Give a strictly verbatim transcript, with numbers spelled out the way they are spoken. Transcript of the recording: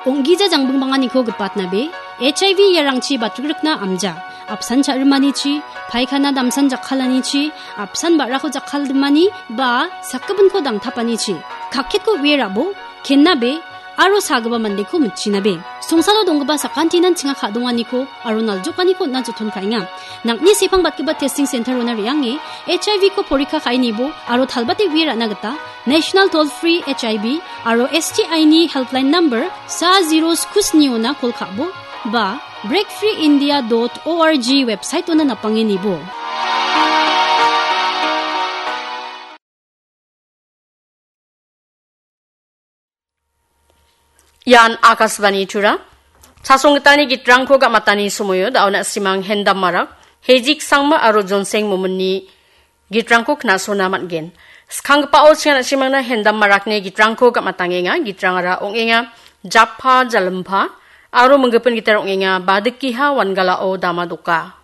Ong·gija jangbingbanganiko gipatnabe, H I V iarangchi batrikrikna amja, apsan cha·rimanichi, paikana damsan jakkalanichi, apsan ba·rako jakkaldimani, ba sakgipinko dangtapanichi, kakketko uie ra·bo, kennabe, aro sagipa mandeko mitchinabe. Songsalo donggipa sakantinan chinga ka·donganiko aro naljokaniko on·na joton ka·enga. Nang·ni sepang batgipa testing center-ona re·ange H I V-ko porikka ka·e nibo aro talbate uie ra·na gita National Toll Free H I V aro S T I-ni helpline number sa zero sku sniona kol ka·bo ba breakfreeindia dot org website-ona napange nibo. Ian Akashvani Tura. Chasonggitalni gitrangko ga·matani somoio da·o na·simang Hendam Marak, Hejik Sangma aro Jonseng Mominni gitrangko knasona man·gen. Skanggipao sian na·simangna Hendam Marakni gitrangko ga·matangenga. Gitrangara ong·enga Jappa Jalimpa aro minggipin gitar ong·enga Badikiha Wangalao Dama Doka.